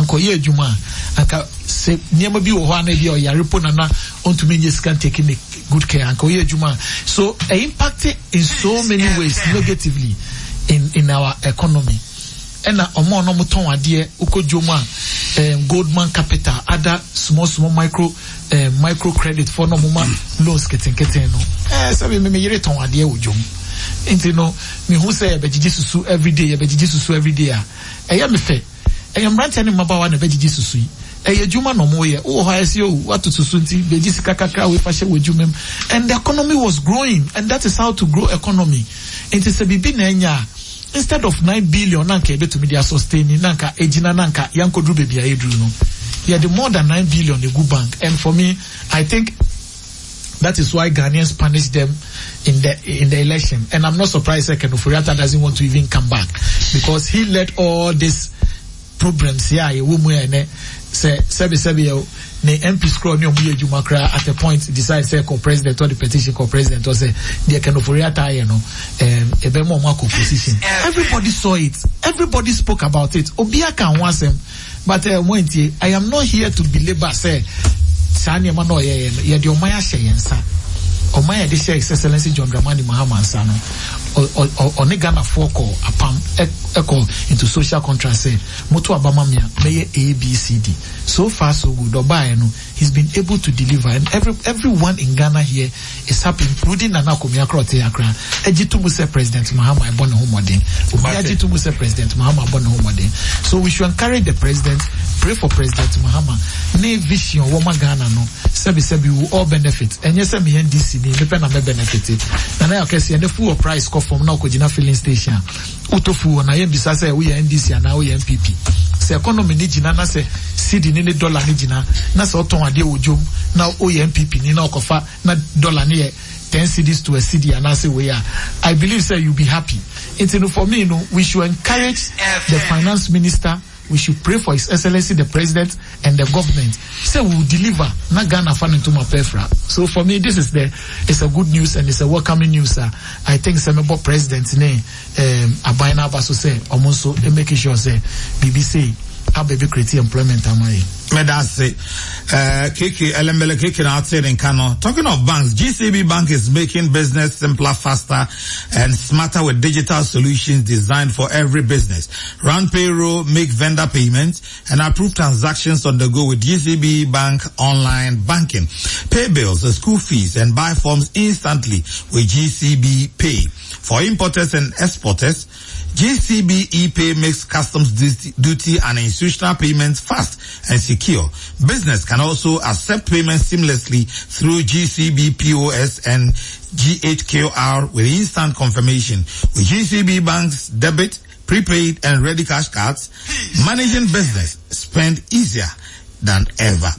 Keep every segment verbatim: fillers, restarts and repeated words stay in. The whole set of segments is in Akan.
Anka ɔyɛ adwuma a, anka sɛ nneɛma bi wɔ hɔ a na ebi a ɔyare po nana ɔntumi nye sika taking ne good care, anka ɔyɛ adwuma a, so ɛ impact in so many ways negatively in in our economy. Ɛna ɔmo a ɔmo tɔn adeɛ wokɔ dwom a, um, Goldman Capital, other small small micro um, micro credit for na ɔmo ma loans ketenketen no, ɛɛ sɛbi mi mi yere tɔn adeɛ wɔ dwom, nti no mihu sɛ yɛbɛgyegye susu everyday, yɛbɛgyegye susu everyday a, ɛyɛ mi fɛ. Ɛyɛ mmeranteɛ ne mmabaawa na ɛbɛgyegye susu yi, ɛyɛ adwuma na ɔmo yɛ. Wowɔ hɔ a, ɛsɛ o wato susu nti bɛgye sika kakra wei fa hyɛ wɔ adwuma mu, and the economy was growing, and that is how to grow economy. Nti sɛ biribi na ɛnya a, instead of nine billion na nka yɛbɛtumi de asustain na nka egyina na nka yɛnkɔduru baabi a yɛduru no, yɛde more than nine billion egu bank. And for me, I think that is why Ghanaians punish them in the in the election. And I'm not surprised that Ken Ofori-Atta doesn't want to even come back, because he led all these problems here. Yɛwɔ mu yɛ nɛ sɛ sɛbi sɛbi yɛ ne M P scroll ne ɔmo yɛ adwuma koraa, at a point decide sɛ kɔ president or the petition kɔ president or sɛ deɛ Ken Ofori-Atta yɛ no, um, ɛbɛma ɔmo akɔ opposition. Everybody saw it, everybody spoke about it, obiara ka ho asɛm, but uh, mo ntie. I am not here to belabor sɛ saa nneɛma na ɔyɛ yɛ no, yɛde ɔman ahyɛ yɛn nsa. Ɔman yɛde hyɛ His Excellency John Dramani Mahama nsa no, ɔne Ghanafoɔ kɔ apam, ɛkɔ into social contract sɛ moto abama mi a, mɛyɛ A B C D. So far so good. Ɔbaeɛ no, he's been able to deliver, and every everyone in Ghana here is happy, including Nana Akomea Korɔte Akra ɛgye to mu sɛ President Mahama ɛbɔ ne ho mmɔden. Obi agye to mu sɛ President Mahama abɔ ne ho mmɔden, so we should encourage the president, pray for President Mahama ne vision wɔma Ghana no. Sɛbi sɛbi, we all benefit. Ɛnyɛ sɛ mi N D C ni mepɛ na mɛ benefit. Nana yɛ akɛseɛ ne fuel price kɔ fam na ɔkɔgyina filling station a, wotɔ fuel na yɛn bisa sɛ woyɛ N D C anaa woyɛ N P P. Sɛ economy ni gyina na sɛ cedi ne ne dollar ne gyina na sɛ ɔtɔn adeɛ wɔ dwom na woyɛ N P P ni na ɔkɔfa na dollar ne yɛ ten cedis to a cedi anaasɛ wei a, I believe say you be happy. Nti no, for me no, we should encourage the finance minister, we should pray for His Excellency the President and the government say we will deliver na Ghana fa ne ntoma pɛfra. So for me, this is the it's a good news and it's a welcoming news. uh, I think sɛ mɛbɔ president ne um, aban no aba so sɛ ɔmo nso make sure sɛ biribi sei aba bi create employment ama yɛ. Medase. Uh, K K, Elembele K K na ate ne nka no. Talking of banks, G C B Bank is making business simpler, faster, and smarter with digital solutions designed for every business. Run payroll, make vendor payments, and approve transactions on the go with G C B Bank Online Banking. Pay bills, school fees, and buy forms instantly with G C B Pay. For importers and exporters, G C B ePay makes customs duty, duty and institutional payments fast and secure. Business can also accept payments seamlessly through G C B P O S and G H Q R with instant confirmation. With G C B Bank's debit, prepaid and ready cash cards, managing business spend easier than ever.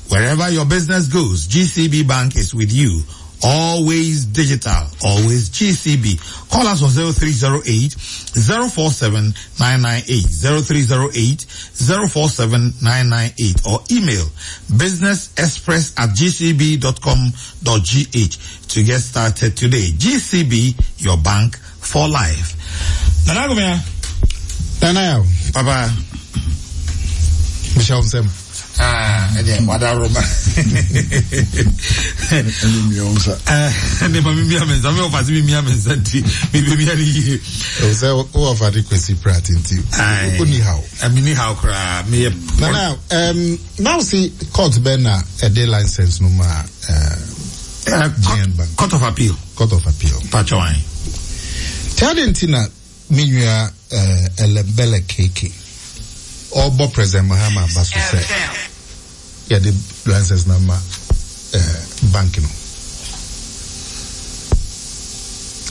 Wherever your business goes, G C B Bank is with you. Always digital, always G C B. Call us on zero three zero eight zero four seven nine nine eight, zero three zero eight zero four seven nine nine eight or email businessexpress at g c b dot com dot g h to get started today. G C B, your bank for life. Nana Akomea. Nana Yaw. Papa. Michelle Nsem. Ah, ɛdeɛ wadaroma. Ɛne mmea wo nsa. Ɛne ma memia me nsa, me wɔfa se memia me nsa nti mebɛmia no yie. Ɛwɔ sɛ wowɔ fa de Kwasi Pratt nti woni haw. Meni haw koraa, meyɛ. Nana, um, now see, court bɛn na ɛde license no ma uh, Uh, G N Bank? Court of Appeal. Court of Appeal. Patwɔn. Nti ade nti na me nua uh, Elembele K K ɔbɔ President Mahama aba so sɛ yɛde license na ma uh, bank no,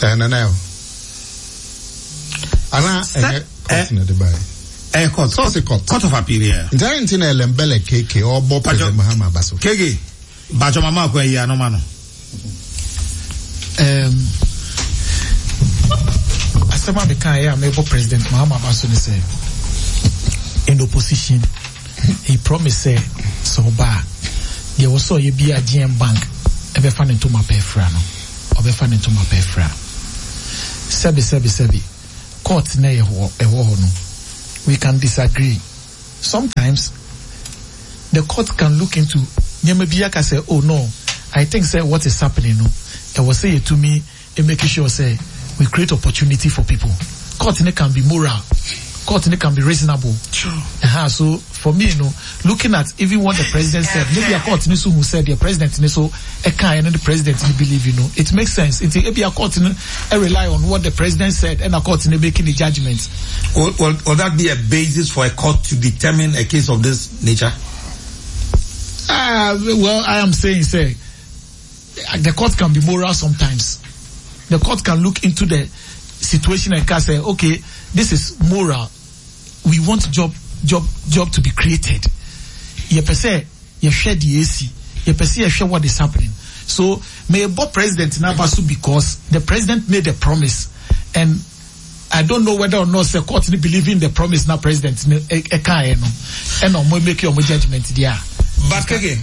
uh, Nana Yaw, ana ɛnyɛ court na ɛde baeɛ? Eh, court. Sɛ ɔse court. Court of Appeal, yeah. Nti ade nti na Elembele K K ɔbɔ President Mahama aba so? K K, Patwɔ mama akɔ ayi anoma no. um, asɛm a meka yɛ a mebɔ President Mahama aba so ne sɛ in opposition he promised sɛ sɛ ɔba a, deɛ wɔ sɛ ɔyɛ bi a G N Bank ɛbɛfa ne ntoma pɛ fra no, ɔbɛfa ne ntoma pɛ fra. Sɛbi sɛbi sɛbi, court na ɛwɔ ɛwɔ hɔ no, we can disagree. Sometimes the court can look into nneɛma bi aka sɛ, "Oh no, I think sɛ what is happening no, ɛwɔ sɛ yɛtumi make sure sɛ we create opportunity for people." Court ne can be moral, court ne can be reasonable. Sure. Uh-huh. So for me, you know, looking at even what the president said, maybe a court ne so who said the president ne so ɛka and the president ne believe, you know, it makes sense. Nti ebi a court ne rely on what the president said and a court ne making the judgment. Will, will, will that be a basis for a court to determine a case of this nature? Uh, well, I am saying, say, the court can be moral sometimes. The court can look into the situation and can say, "Okay, this is moral. We want job, job, job to be created. Yɛpɛ sɛ yɛhwɛ deɛ esi. Yɛpɛ sɛ yɛhwɛ what is happening." So, mebɔ president n'aba so because the president made a promise, and I don't know whether or not the court believe in the promise na president ne ɛkaeɛ no, ɛna ɔmo make ɔmo judgment there. But keke,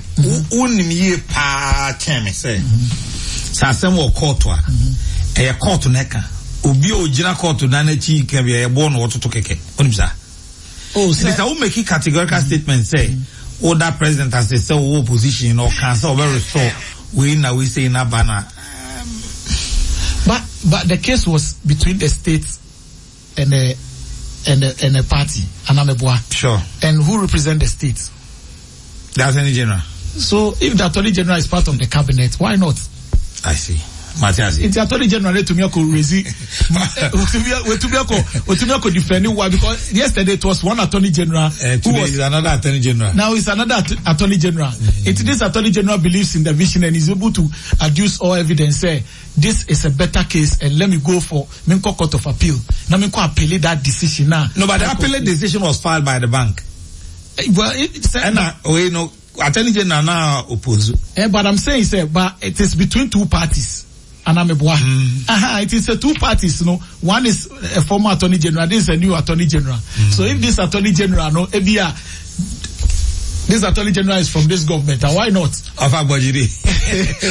wonim yie paa kyɛn me sɛ sɛ asɛm wɔ court a, ɛyɛ court na ɛka. Obi a ogyina court na n'akyi ka bi, ɛyɛ bɔɔ na wɔtoto kɛkɛ. Wonim saa? Oh, nti sɛ wo make categorical statement sɛ woda president ase sɛ wowɔ opposition na ɔka sɛ ɔbɛ restore wei na wei sei na ba na But but the case was between the state and the and the and the party, Anameboa. Sure. And who represent the state? The Attorney General. So if the Attorney General is part of the cabinet, why not? I see. Mate ase. Nti Attorney General etumi akɔ raise, wetumi akɔ wetumi akɔ defend wa, because yesterday it was one Attorney General Uh, who today was is another Attorney General. Now it's another att- attorney General. Mm. It, this Attorney General believes in the vision and is able to adduce all evidence. Say this is a better case and let me go for menkɔ Court of Appeal. Now menkɔ appeal that decision now. No, but the appellate decision was filed by the bank. Eh, Well, it, it's, And uh, we know Attorney General now oppose. Eh, but I'm saying, say, but it is between two parties. Anameboa. Mm. Uh-huh, it is a two parties, you know. One is a former Attorney General, this is a new Attorney General. Mm. So if this Attorney General, no, ebia, this Attorney General is from this government, and why not? Ofa Gbojidi.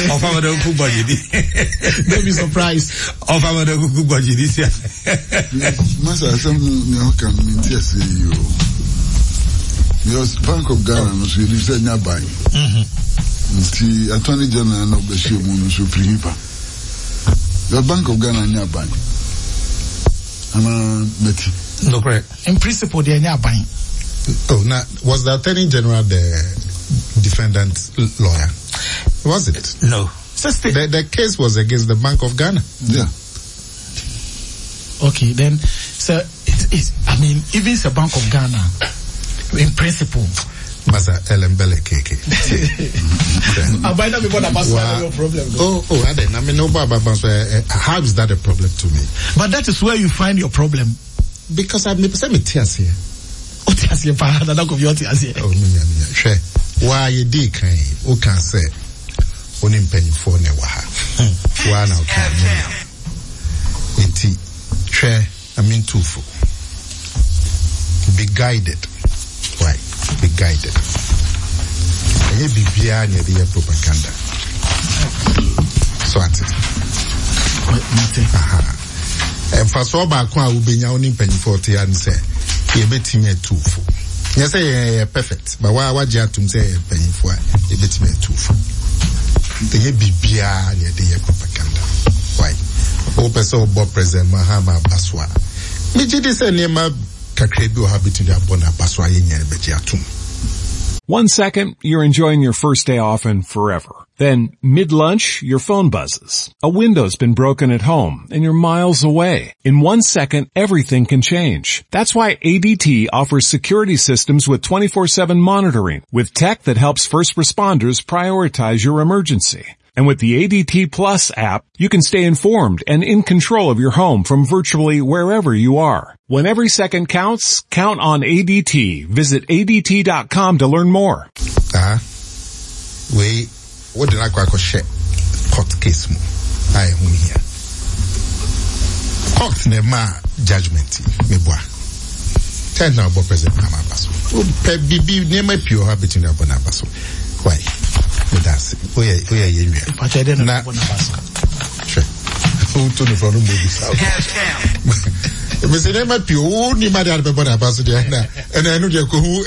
Ofa Madoku Gbojidi. Don't be surprised. Ofa Madoku Gbojidi. Masa, asɛm no nea ɔka no mente ase yi o. Because Bank of Ghana no so yɛnim sɛ ɛnyɛ aban. Nti Attorney General na ɔbɛhyia mu no so firi hifa. The Bank of Ghana nyɛ aban. Anaa Mati? No, correct. In principle, they are not buying. Oh, now, was the Attorney General the defendant's lawyer? Was it? No. So state- The, the case was against the Bank of Ghana. Yeah. Okay, then, so it is, I mean, even the Bank of Ghana, in principle, Masa Elembele K K. I buy that before the Wow. your problem, though. Oh, oh, I didn't. I mean, no, but, but, but, uh, how is that a problem to me? But that is where you find your problem. Because I'm me tears here. Wote aseɛ paa, Nana Kofi, wote aseɛ. Oh, me, me, me. Hwɛ, wa ye di kan, o kan sɛ, o ne mpanyinfoɔ na ɛwɔ ha. Wa na o kan ne. Nti, hwɛ, I mean, tufo. Be guided. Why? Be guided. Ɛnyɛ biribiara na yɛde yɛ propaganda. So ate. Mate. Aha. Mfasoɔ baako a wobɛnya wo ne mpanyinfoɔ te ya ne sɛ yɛbɛtumi atu fo. Nyɛ sɛ yɛyɛ perfect, but wa wagye atom sɛ yɛyɛ mpanyinfoɔ a yɛbɛtumi atu fo. Ɛnyɛ biribiara na yɛde yɛ propaganda. Why? Wopɛ sɛ wobɔ President Mahama aba so a, megye di sɛ nneɛma kakra bi wɔ ha bɛtumi abɔ no aba so a yɛnyɛ bɛgye atom. One second, you're enjoying your first day off and forever. Then, mid-lunch, your phone buzzes. A window's been broken at home and you're miles away. In one second, everything can change. That's why A D T offers security systems with twenty-four seven monitoring, with tech that helps first responders prioritize your emergency. And with the A D T Plus app, you can stay informed and in control of your home from virtually wherever you are. When every second counts, count on A D T. Visit A D T dot com to learn more. Ah, wei wode no akɔ akɔhyɛ court case mu a ɛho hia court na ɛma judgment yi. Meboa ten na ɔbɔ President Mahama aba so, wopɛ biribi nneɛma pii wɔ hɔ a bɛtumi abɔ no aba so. Why? Meda ase, woyɛ woyɛ yɛ nua. Pakyɛ dɛ na Na- bɔ n'aba so. Hwɛ, woto no frɔ no mmɔ bisa. Mese nneɛma pii wo ni ma de ade bɛbɔ n'aba so deɛ ɛna ɛna ɛno deɛ kohu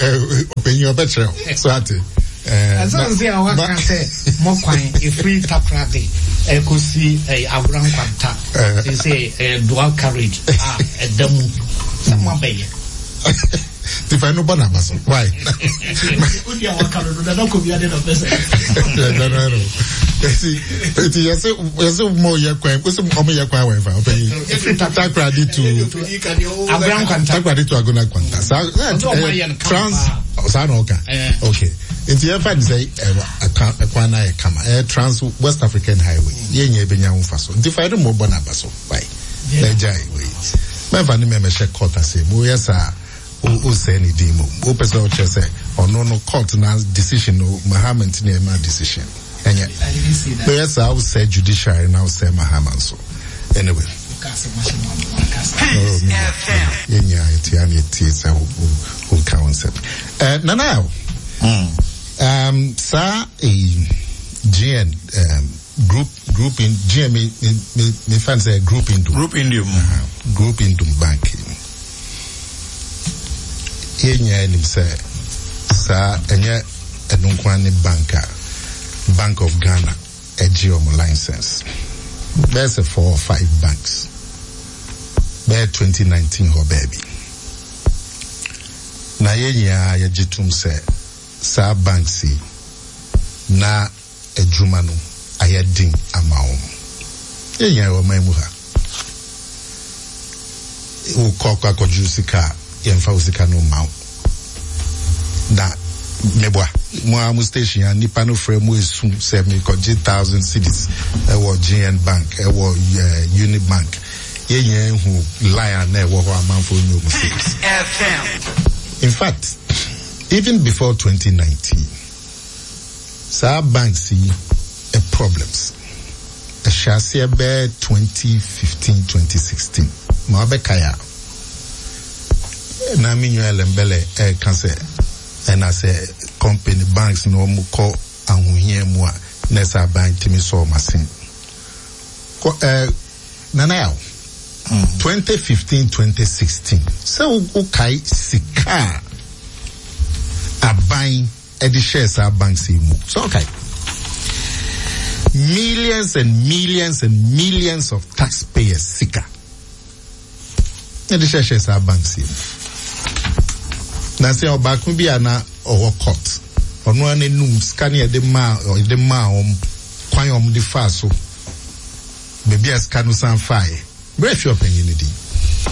ɔpanyin ɔbɛkyerɛ wo so ate. Ɛsɛ sɛ a waka sɛ mɔkwan ɛfiri Takoradi ɛkɔsi Agora Nkwanta sɛ dual carriage a ɛda mu sɛ moabɛyɛ. Tifa no bɔ n'aba so why. Wodi a waka no dada kɔ bi ade na pɛ sɛ. Eti eti yɛsɛ yɛsɛ mo yɛ kwan kó sɛ ɔmo yɛ kwan wɔ nfa ɔpɛ yi Takoradi to Agora Nkwanta Takoradi to Agora Nkwanta saa trans saa na ɔka okay nti yɛn fa ne sɛ ɛkwan na yɛ kama ɛyɛ Trans West African Highway yɛn nyɛ ebenya ho fa so nti fa yɛde mo bɔ n'aba so why ɛgya yi wei mɛnfa ne mɛmɛ hyɛ court ase mo yɛ saa. O sɛ ne din mu o pɛ sɛ ɔkyerɛ sɛ ɔno no court na decision no Mahama nti na ɛma decision ɛnyɛ bɛyɛ saa o sɛ judiciary na o sɛ Mahama nso anyway yɛnya yɛtia ne yɛtie sɛ o ka wo nsɛm nana um, saa G N um, group group in G N me me me fan sɛ Group Indum Group Indum uh-huh. Group Indum Bank yɛnya anim sɛ saa ɛnyɛ ɛno nko ne bank a Bank of Ghana ɛgye ɔmo license bɛyɛ sɛ four or five banks bɛyɛ twenty nineteen hɔ baabi na yɛnya yɛgye tom sɛ saa banks yi na adwuma no ayɛ den ama wɔn yɛnya wɔ man mu ha wokɔ akɔ akɔgye sika yɛmfa wo sika no ma wo na meboa mo a mo station a nipa no frɛ mo esu sɛ mekɔgye thousand cedis ɛwɔ G N Bank ɛwɔ Unibank yɛnyɛ hu line a na ɛwɔ hɔ amanfoɔ nyɛ ɔmo cedis. In fact, even before twenty nineteen saa banks yi ɛ problems ɛhyɛ aseɛ bɛɛ twenty fifteen twenty sixteen ma wabɛka ya na mi nua Ellembelle ɛka sɛ ɛna sɛ company banks na wɔn kɔ ahohia mu a na ɛsɛ aban tumi sɔ wɔn asen kɔ ɛɛ nana yaw twenty fifteen twenty sixteen sɛ wokae sika aban ɛde hyɛ saa banks yi mu sɛ ɔkae millions and millions and millions of taxpayers sika ɛde hyɛ hyɛ saa banks yi mu. Na sɛ ɔbaako bi a na ɔwɔ court ɔno ara n'anum sika ne yɛde maa yɛde maa wɔn kwan a wɔde faa so beebi a sika no san faeɛ bere fi ɔpanyin no din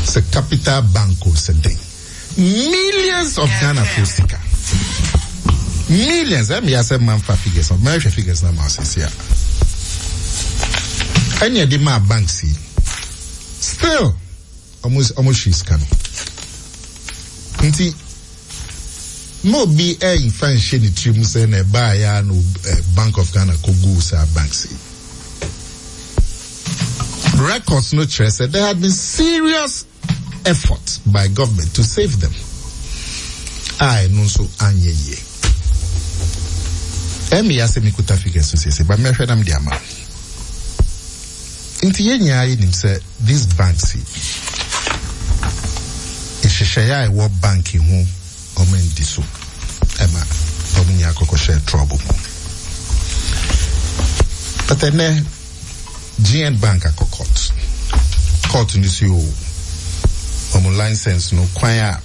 sɛ Capital Bank o sɛ den millions of Ghana fo sika millions ɛmi asɛ manfa figures no mɛhwɛ figures na ma asese a ɛne yɛde maa banks yi still ɔmo ɔmo hwi sika no nti mo bi ɛnfa nhyɛ ne tirim sɛ na ɛbaa ya no Bank of Ghana kogu saa banks yi records no kyerɛ sɛ there had been serious effort by government to save them a ɛno nso anyɛ yie ɛmi ya sɛ mikuta figures so sese ba mɛhwɛ nam de ama nti yɛn nyinaa yɛ nim sɛ these banks yi nhyehyɛeɛ a ɛwɔ bank ho ɔmo ndi so ɛma ɔmo nyinaa kɔkɔhyɛ trouble mu but ɛnɛ G N Bank akɔ court court no si o ɔmo license no kwan a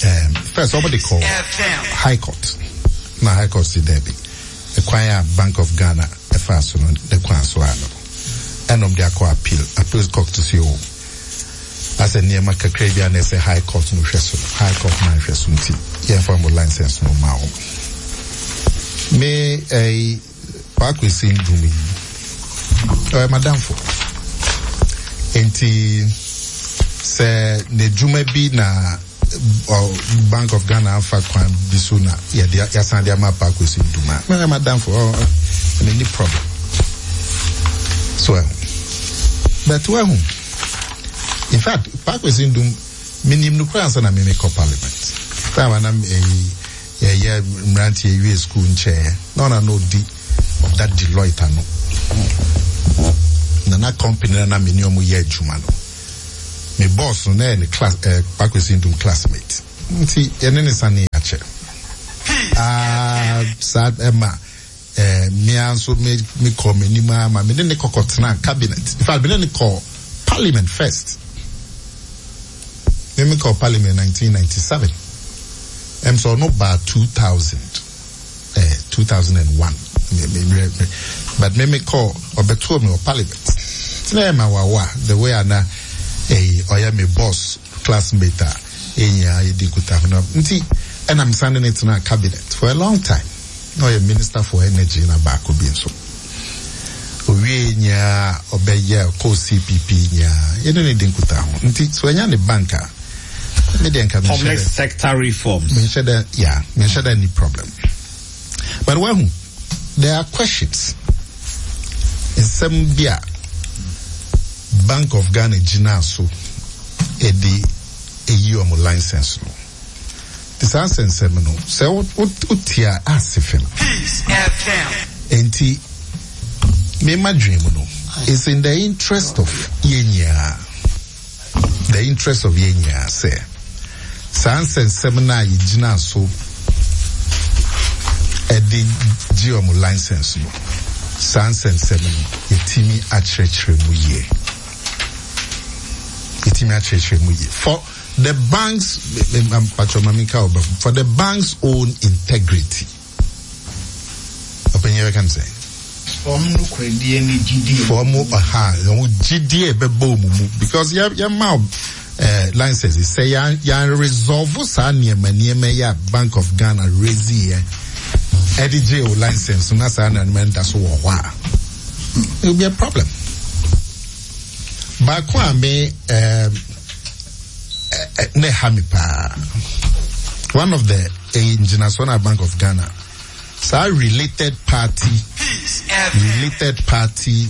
um, first ɔmo de kɔ High Court na High Court si dɛbi kwan a Bank of Ghana ɛfa so no ne kwan so ano ɛna ɔmo de akɔ appeal appeal court si o asɛ nneɛma kakra bi a na ɛsɛ High Court no hwɛ so no High Court na hwɛ so nti yɛmfa mo license no ma wo me ɛyi Paako si ndum yi ɔyɛ madamfo nti sɛ n'adwuma bi na Bank of Ghana afa kwan bi so na yɛde yɛasan de ama Paako si ndum a mɛyɛ madamfo ɔ ɔ ni problem so ɛho but ɛho in fact Paako si ndum minim no kora ansa na mimi kɔ parliament time anam ɛyi yɛyɛ mmeranteɛ ewie school nkyɛn na ɔna na odi of that Deloitte ano na na company na na mene ɔmo yɛ adwuma no Me boss no na ɛyɛ ne class ɛɛ Paa Kwesi Nduom classmate. Nti yɛne ne sane akyɛ. Ah, saa ɛma ɛɛ mmea nso me me kɔ m'anim ama me ne ne kɔkɔ tena cabinet. In fact, me ne ne kɔ parliament first. Me me kɔ parliament nineteen ninety seven. Ɛm sɛ ɔno baa two thousand ɛɛ two thousand and one. Me me me me but me me kɔ ɔbɛtoo me wɔ parliament. Tena yɛ ma wawa the way ana ɛyi ɔyɛ me boss classmate a ɛnyia yɛdi nkutaho no nti ɛna me san ne ne tena cabinet for a long time. Na ɔyɛ minister for energy na baako bi nso. Owie nyinaa ɔbɛyɛ kɔ C P P nyinaa yɛne ne di nkutaho nti so ɛnya ne bank a me deɛ nka Public sector reforms. Menhyɛ dɛ, yeah, menhyɛ dɛ ni problem. But wahu, there are questions, nsɛm bi a Bank of Ghana gyina so ɛde eyi ɔmo license no te saa nsɛnsɛm no sɛ wotia ase fam. Nti mema dwen mu no, it's in the interest of yɛn nyinaa, the interest of yɛn nyinaa sɛ saa nsɛnsɛm no a yɛgyina so ɛde gye ɔmo license no, saa nsɛnsɛm no yɛtumi akyerɛkyerɛ mu yie, yɛtumi akyerɛkyerɛ mu yie for the banks, for the bank's own integrity. Ɔpanyin bɛka no sɛ Wɔn no koradie ne gyidie. For ɔmo ɔha ɔmo gyidie bɛbɔ ɔmo mu because yɛ yɛ ma ɛɛ license sɛ yɛn yɛn resolve saa nneɛma nneɛma yi a Bank of Ghana raise yɛ ɛde gye o license na saa nneɛma nda so wɔ hɔ a, it will be a problem. Baako a me ɛɛm ɛ ne ha mi paa, one of the ɛyɛ ngyinasoɔ na Bank of Ghana saa related party related party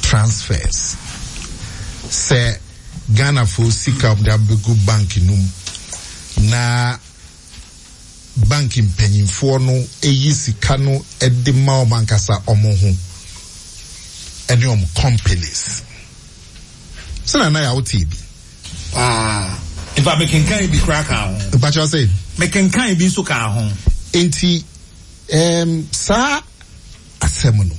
transfers sɛ Ghana fo sika ɔmo de abɛgu bank no mu na bank mpanyinfoɔ no eyi sika no ɛde ma ɔmo ankasa ɔmo ho ɛne ɔmo companies sɛnɛ na yà wote bi. Paa, nfa mekenkan bi koraa ka ho. Mpakyɛw sɛ. Mekenkan bi nso ka ho. Nti um, saa asɛm no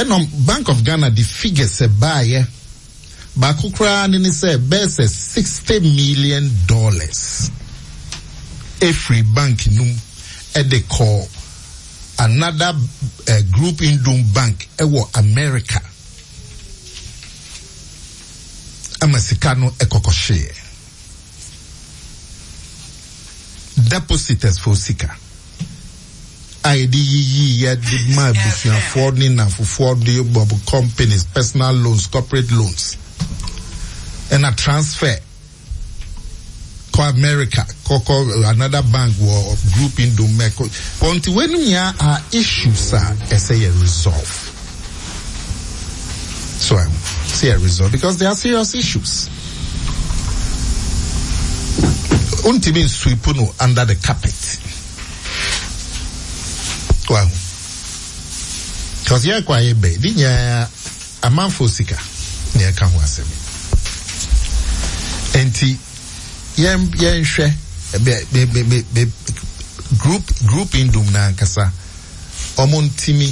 ɛnna Bank of Ghana de figures ɛbaayɛ baako koraa ne ne sɛ bɛyɛ sɛ sixty million dollars efiri bank num ɛde kɔ another uh, Group Nduom bank ɛwɔ America ama sika no ɛkɔkɔ hyeɛ depositors fo sika a yɛde yiyi yɛde ma abusuafoɔ ne nafofoɔ de bɔ companies, personal loans, corporate loans, ɛna transfer kɔ America kɔkɔ another bank wɔ Group Nduom mɛko wɔn ti. Wɔn nyinaa are issues a ɛsɛ yɛ resolve, so um, sɛ yɛ resolve because they are serious issues. Ntumi sweep no under the carpet. Well, because yɛ kɔ ayɛ bɛ ne nyinaa amanfo sika na yɛka ho asɛm nti yɛn yɛnhwɛ bɛ bɛ bɛ bɛ bɛ group group Nduom n'ankasa ɔmo ntumi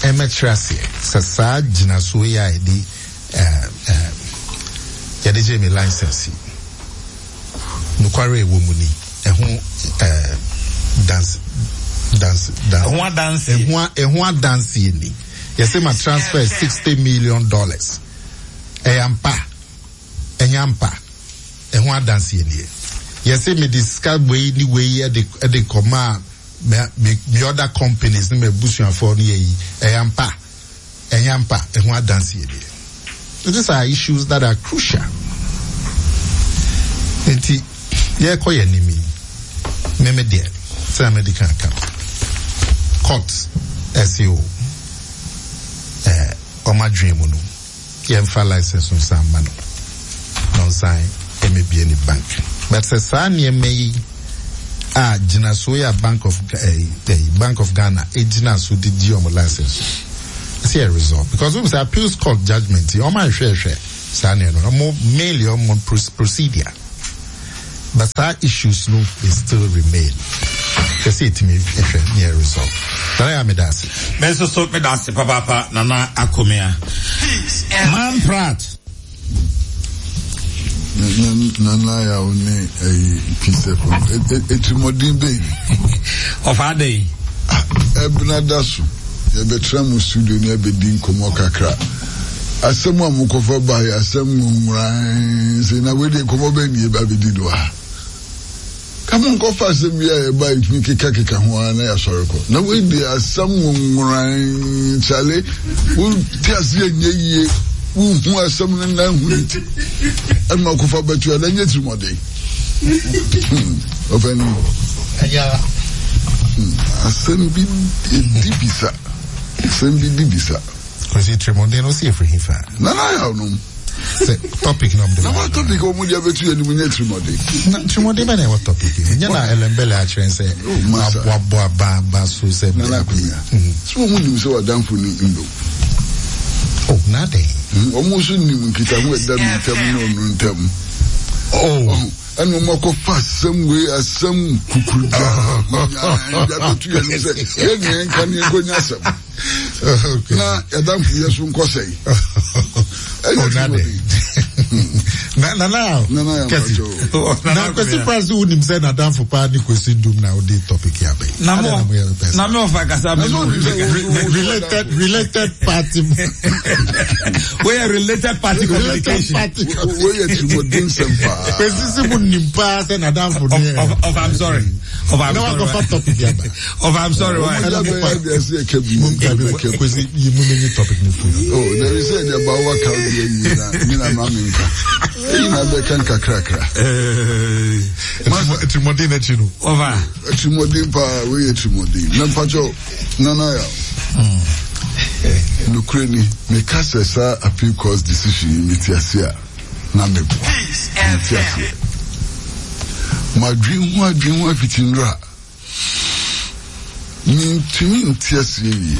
ɛmɛkyerɛ aseɛ sɛ saa gyinasoɔ yi a yɛde ɛɛ ɛɛ yɛde gye mi license yi, nokware ɛwɔ mu ni, ɛho ɛɛ dance dance dance. Ɛho adanseɛ. ɛho ɛho adanseɛ ni. Yɛsɛ ma transfer sixty million dollars, ɛyɛ ampa, ɛnyɛ ampa? Ɛho adanseɛ nie. Yɛsɛ mi de sika wei ni wei ɛde ɛde kɔma me me me other companies ne me abusuafoɔ no yɛ yi, ɛyɛ ampa, ɛnyɛ ampa? Ɛho adanseɛ nie. These are issues that are crucial. Nti yɛkɔ yɛ anim yi, meme deɛ sɛ mede ka ka court ɛsi o ɛɛ ɔmo adwene mu no, yɛmfa license nsan ma no na ɔnsan ɛmɛbie ne bank. But sɛ saa nneɛma yi a gyinasoɔ yi a bank of ɛɛ ɛɛ Bank of Ghana egyina so de gye ɔmo license Ɛsɛ yɛ resolve because wɔn sɛ appeals court judgement yi ɔmo ahwehwɛhwɛ saa nneɛma no ɔmo mainly ɔmo procedure but saa issues no they still remain. Ɛsɛ yɛtumi hwɛ ne yɛ resolve. Nana yɛ ameda ase. Me nso so meda ase papaapa Nana Akomea. Man Pratt. Nana yɛ wo ne ɛyi Peace F M etirimɔden bɛyi. Ɔfa adɛn? Ɛbena da so yɛbɛtena mu studio ne yɛbɛdi nkɔmmɔ kakra. Asɛm a mokɔfa ba yɛ asɛm nwonworan sɛ na wei deɛ nkɔmmɔ bɛn ne yɛba bɛdi no ha. Ka mo nkɔfa asɛm bi a yɛba yɛtumi kekakeka ho ara na yɛasɔre kɔ. Na wei deɛ asɛm nwonworan kyale wote aseɛ nyɛ yie wohu asɛm no na hu ne ti ɛma kɔfa bɛto a na nyɛ tirimɔden. Ɔfɛni. Asɛm bi di bisa. Asɛm bi di bisa. Kwesi tirimɔden no si efiri hifa. Nana yaw nom. Sɛ topic na ɔmo de ba. Na topic ɔmo de abɛtu yɛ nimu nyɛ tirimɔden. Na tirimɔden bɛ na ɛwɔ topic yi. Nyɛ na Ellembelle akyerɛ sɛ wabɔ aba aba so sɛ. Nana Akomea. Sɛ ɔmo nim sɛ wadanfo ni ndo. Oh, na den. Ɔmo nso nim nkitaho ɛda mi ntam ne ɔno ntam. Oh. Ɛna ɔmo akɔfa asɛm wei asɛm kukuru gya. Abɛtu yɛ no sɛ yɛn nyɛ nka ne nkɔnya asɛm. Na yɛdamfo yɛ so nkɔ sɛe. Oh, na de. Na na na. Kɛse. Na Kwesi Pratt wo nim sɛ nadamfo paa ne Kwesi Ndum na wode topic ya bɛyi. Na mo na me ɔfa kasa me related related party. We are related party communication. We are tirimɔden sɛm paa. Kwesi si mu nim paa sɛ nadamfo ne. Of of I'm sorry. Of I'm sorry. Na wakɔfa topic ya ba. Of I'm sorry. Why? Kwesi yi mu ne topic ne free. Oh, there is a bawa ka bi yi na mi na ma mi nka. Eyi na bɛka nkakrakra. Tirimɔden n'akyi no. Ɔfa. Tirimɔden paa wei yɛ tirimɔden. Na mpakyɛw Nana ya. Nukure ni meka sɛ saa appeal court decision yi mi ti ase a na mi bɔ. Mi ti ase. Ma dwen ho adwen ho afiti nra. Mintumi nti aseɛ yie.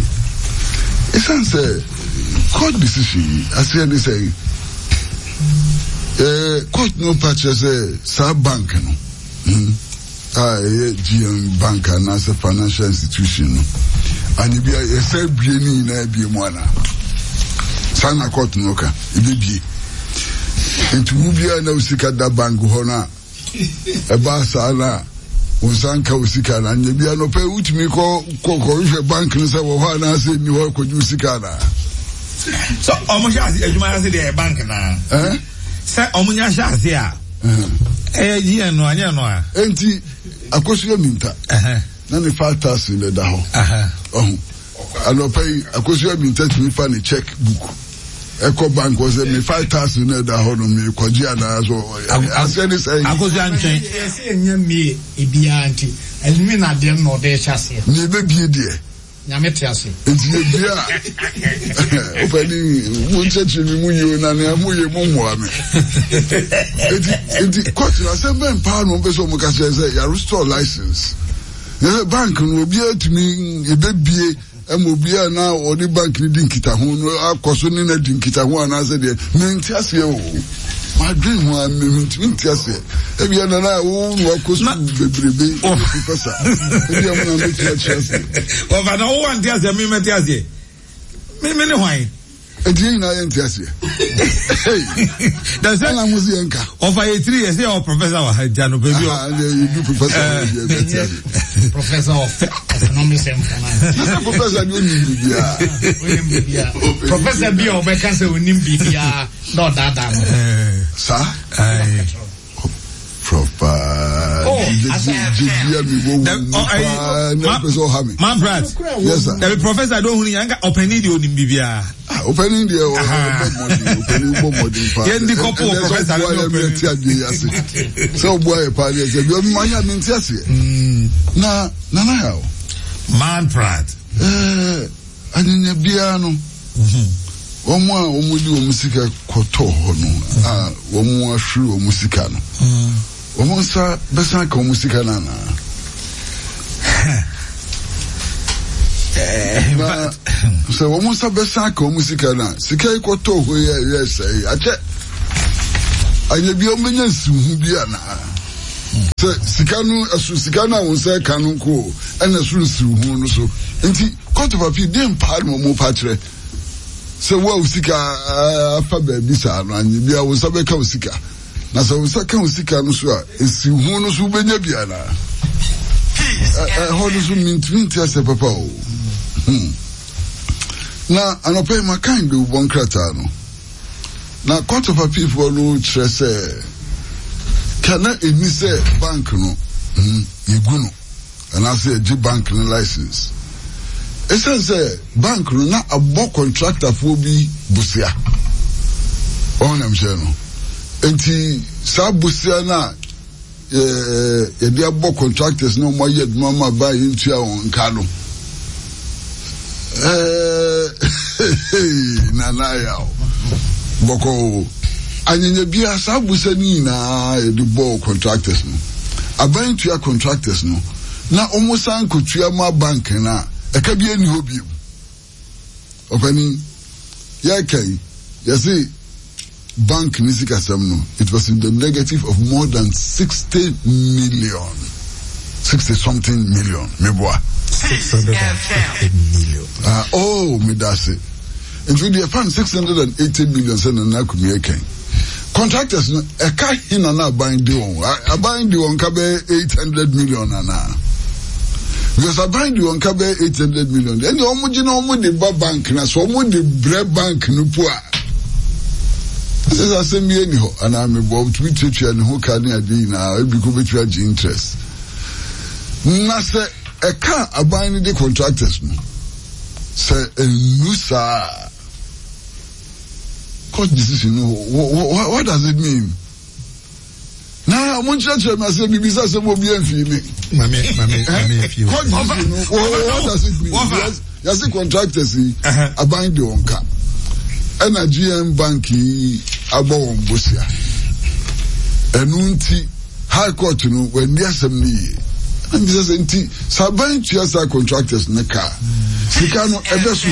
Ɛsiane sɛ court decision yi aseɛ ne sɛ eh, court no pa kyerɛ sɛ saa bank no hmm, a ɛyɛ G M Bank anaasɛ financial institution no ane bia yɛsɛ bie ne nyinaa bie mu anaa saa na court no ka ɛbɛbie nti wo biara na wo sika da bank hɔ no a ɛbaa saa na wo nsa nka wo sika na nyɛ bia no pɛ wotumi kɔ kɔhwehwɛ bank no sɛ wɔ hɔ anaasɛ nni hɔ kɔgye wo sika anaa. So ɔmo hyɛ ase adwuma ase deɛ bank naa sɛ ɔmo nya hyɛ ase a ɛyɛ G N no anyɛ no a. Enti Akosua Minta na ne five thousand na ɛda hɔ ɔho anɔpa yi Akosua Minta tumi fa ne check book ɛkɔ bank wɔ sɛ me five thousand na ɛda hɔ no me kɔgye anaa so aseɛ ne sɛ. Akosua ntwɛn. Yɛsɛ yɛnyɛ mmie ebiara nti ɛnumi na adeɛ no na ɔde hyɛ aseɛ. Ne ebebie deɛ. Nyame te ase. Nti yɛbie a wopɛni mo nkyɛkyerɛ mi mu yie na nea mo yɛ mo mmoa me. Nti nti kɔɔto no asɛm bɛn paa na wɔn pɛ sɛ wɔn ka kyerɛ sɛ yɛ restore license. Yɛ bank no obiara tumi ebebie ɛma obiara na ɔne bank no di nkitaho no akɔ so ne na di nkitaho anaasɛ deɛ mente aseɛ o. Madwen ho a mentumi nte aseɛ. Ebia nana wo na wakɔ sukuu bebrebe professor. Ebia mo na mɛtumi akyerɛ aseɛ. Ɔfa na wo ante aseɛ me mɛte aseɛ. Me me ne hwan? Enti yɛn nyinaa yɛnte aseɛ. Ɛna mo si yɛn ka. Ɔfa yɛ tiri yɛ sɛ yɛ professor wɔ ha nti anɔpɛ bi. Aha ɛnna yɛ du professor wɔ bi ɛbɛ ti aseɛ. Professor of economics and finance. Nasa professor ni onim bibiara. Onim bibiara. Professor bi a ɔbɛka sɛ onim bibiara na ɔdaadaa no. Saa. Prof paa. Jibia mi wo wo paa na pɛ sɛ ɔha mi. Man Pratt. Yes sir. Dabi professor do ohun yanka ɔpɛni deɛ onim bibiara. Ah ɔpɛni deɛ ɔbɔ mɔden ɔpɛni bɔ mɔden paa. Yɛn di kɔpɔ wɔ professor ne ɔpɛni. Ɛnɛ sɛ ɔbua yɛ mi ti adeɛ ase. Sɛ ɔbua yɛ paa deɛ sɛ bi ɔmo anya mi nti aseɛ. Na Nana ha o. Man Pratt. Ɛɛ anyinya biara no. Wɔn a wɔn de wɔn sika kɔtɔ hɔ no a wɔn ahwere wɔn sika no wɔn nsa bɛsan ka wɔn sika no anaa. Na sɛ wɔn nsa bɛsan aka wɔn sika no a, sika yi kɔtɔɔ hɔ yi a ɛyɛ sɛe akyɛ. Anyɛ bi a wɔbɛnya nsiho bi anaa? Sɛ sika no ɛso sika no a wɔn nsa ɛka no nko ɛna ɛso nsiho no so. Nti Court of Appeal deɛ mpaa na wɔn pa kyerɛ sɛ wo a wo sika afa baabi saa no, anyɛ bi a wo nsa bɛka wo sika. Na sɛ wo nsa ka wo sika no so a, nsiho no so wobɛnya bi anaa? Ɛhɔ no so mintumi nte asɛ papa o. Hmm. Na anɔpa yi makan de wobɔ nkrataa no. Na Court of Appeal foɔ no kyerɛ sɛ ka na ɛni sɛ bank no hmm, yɛgu no anaasɛ yɛgye bank no license. Ɛsiane sɛ bank no na abɔ contractorfoɔ bi bosea. Wɔn nam hyɛ no. Nti saa bosea no a yɛde abɔ contractors na wɔn ayɛ adwuma ma ban yɛntua wɔn nka no. Nana yaw bɔkɔ anyanya bia saa busa no nyinaa yɛde bɔɔ contractors no. Aban tua contractors no na wɔn san kɔtua ma bank no a ɛka bi ani hɔ bio. Ɔpanin, yɛka yi, yɛse bank ne sikasɛm no, it was in the negative of more than sixty million. sixty something million, meboa. six hundred and fifty million. Ah, oh, medase. Nti deɛ fan six hundred and eighty million sɛ Nana Akumi ɛkɛn. Contractors no, ɛka hena na aban de wɔn? Aban de wɔn ka bɛyɛ eight hundred million anaa? Because aban de wɔn ka bɛyɛ eight hundred million. Ɛnna wɔn gye na wɔn de ba bank na so wɔn de brɛ bank no po a. Ɛsɛ sɛ asɛm bi ani hɔ anaa mebɔ tumi tuatua ne ho ka ne adeɛ nyinaa, ebi ko bɛtumi agye interest. Na sɛ ɛka aban no de contractors no, sɛ ɛnnu saa, court decision no, what, what does it mean? Na mo nkyerɛkyerɛ mi ase bibi sɛ sɛ mo bi ɛnfi mi. Mame mame mame efi o. Court decision no, what does it mean? Yes, yasi contractors yi, aban de wɔn ka. Ɛna G M Bank yi abɔ wɔn bosia. Ɛnu nti High Court no wɔn ani asɛm no yie. Ɛna bisa sɛ nti sɛ aban tua saa contractors no ka, sika no ɛbɛ so.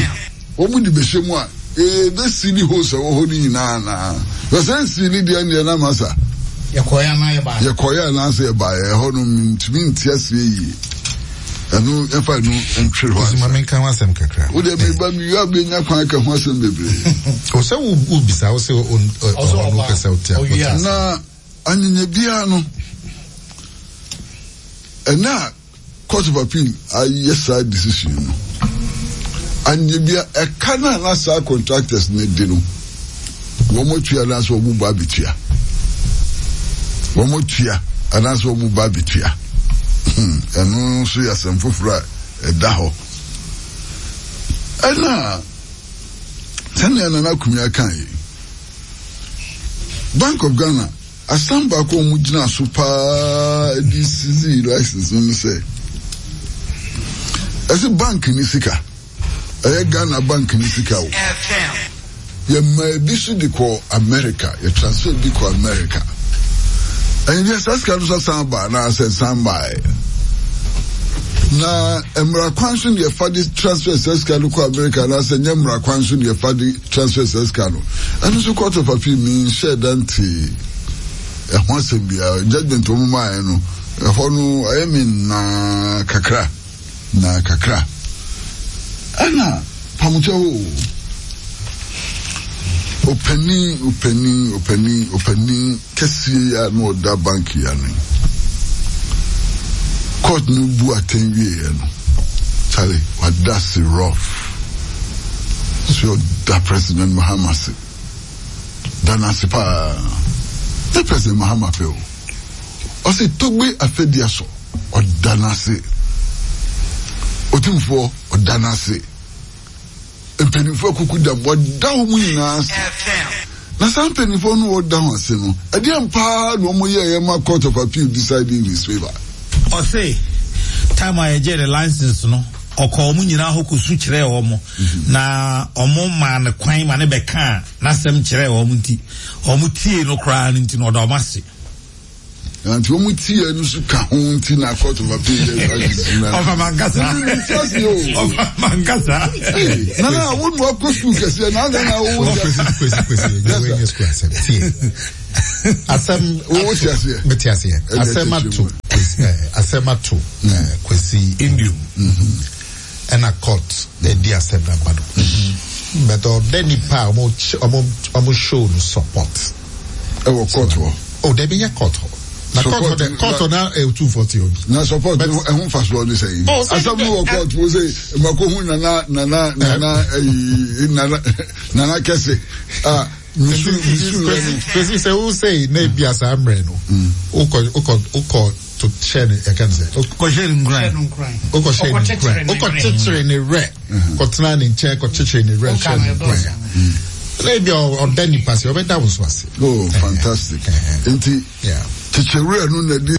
Wɔn de bɛhyɛ mu a, ebe sili hose ɛwɔ hɔ no nyinaa naa. Sɛ nsili deɛ deɛ na masa. Yɛkɔɛ anaa yɛbaeɛ. Yɛkɔɛ anaa sɛ yɛbaeɛ, ɛhɔ no ntumi nte aseɛ yie. Ɛno yɛfa ɛno ntwere hɔ ansa. Maame nka ho asɛm kakra. Wo deɛ meba mi wia bɛnya kwan ka ho asɛm bebree. O sɛ wo wo bisa wo sɛ ɔno pɛ sɛ ɔte akɔte. Na anyanya biara no, ɛna Court of Appeal ayɛ saa decision no. Anyanya biara ɛka na na saa contractors ne di no, wɔn atua anaasɛ wɔn ba abetua. Wɔn atua anaasɛ wɔn ba abetua. Ɛno nso yɛ asɛm foforɔ a ɛda hɔ. Ɛna sɛnea Nana Akumi aka yi, Bank of Ghana asam baako a wɔn gyina so paa de sisi license no ne sɛ, ɛsɛ bank ne sika, ɛyɛ Ghana bank ne sika o. Yɛma ebi so de kɔ America, yɛ transfer bi kɔ America. Ɛnyɛ bi saa sika no so san ba anaasɛ san baeɛ. Na mmara kwan so ne yɛfa de transfer saa sika no kɔ America anaasɛ nyɛ mmara kwan so ne yɛfa de transfer saa sika no. Ɛno nso Court of Appeal mi nhyɛ da nte ɛho asɛm biara. Judgment wɔn maaeɛ no, ɛhɔ no ɛyɛ me naa kakra. Na kakra. Ɛna pamukyɛ o. Opanin, opanin, opanin, opanin kɛseɛ yi a na ɔda bank yi ano yi. Court no bu atɛn wieɛ no. Charlie, wada se rough. So ɔda President Mahama se. Da n'ase paa. Ne President Mahama pɛ o. Ɔse Togbe Afɛdia so. Ɔda n'ase. Otumfoɔ, ɔda n'ase. Mpanimfoɔ akuku dam, wɔda wɔn nyinaa ase. Na saa mpanimfoɔ no wɔda wɔn ase no, ɛdeɛn paa na wɔn yɛeɛ ma Court of Appeal decide in his favour? Ɔse, time a yɛgyee ne license no, ɔkɔɔ wɔn nyinaa hɔ kɔsu kyerɛɛ wɔn, na wɔn maa no kwan ma ne bɛkaa n'asɛm kyerɛɛ wɔn nti, wɔn tiee no koraa no nti no, ɔda wɔn ase. Nti wɔn ti yɛ no so ka ho nti na court of appeal yɛ Ɔfa mankasa. Ɔfa mankasa. Nana wo nu akɔ sukuu kɛseɛ na adɛn na wo Kwesi kwesi kwesi ɛnyɛ wei nyɛ sukuu asɛm tie asɛm Wo te aseɛ? mete aseɛ Ɛdeɛ asɛm kyerɛkyerɛ ato mu. Kwesi ɛɛ asɛm ato ɛɛ Kwesi Indium. Ɛna court ɛdi asɛm na ba no, but ɔdɛ nipa a ɔmo ɔmo ɔmo show no support. Ɛwɔ court hɔ. O dɛbi, nyɛ court hɔ na court hɔ dɛ, court hɔ na ɛtu forty obi. Na support no ɛho nfasoɔ ne sɛ yi Oh, sɛ asɛm no wɔ court wo sɛ mako hu nana nana nana ɛyi nana nana kɛse a misu misu yɛ no. Kwesi, sɛ wo sɛ na ebi asa mmerɛ no, wokɔ wokɔ wokɔ to hyɛ ne ɛka ne sɛ Kɔhyɛ ne nkuran. Wokɔ hyɛ ne nkuran, wokɔ kyekyere ne werɛ, kɔtena ne nkyɛn, kɔ kyekyere ne werɛ, hyɛ ne nkuran, na ebi ɔda nipa se ɔbɛda wo so ase. Oh, fantastic! Nti Yeah. kyekyerɛ no na di.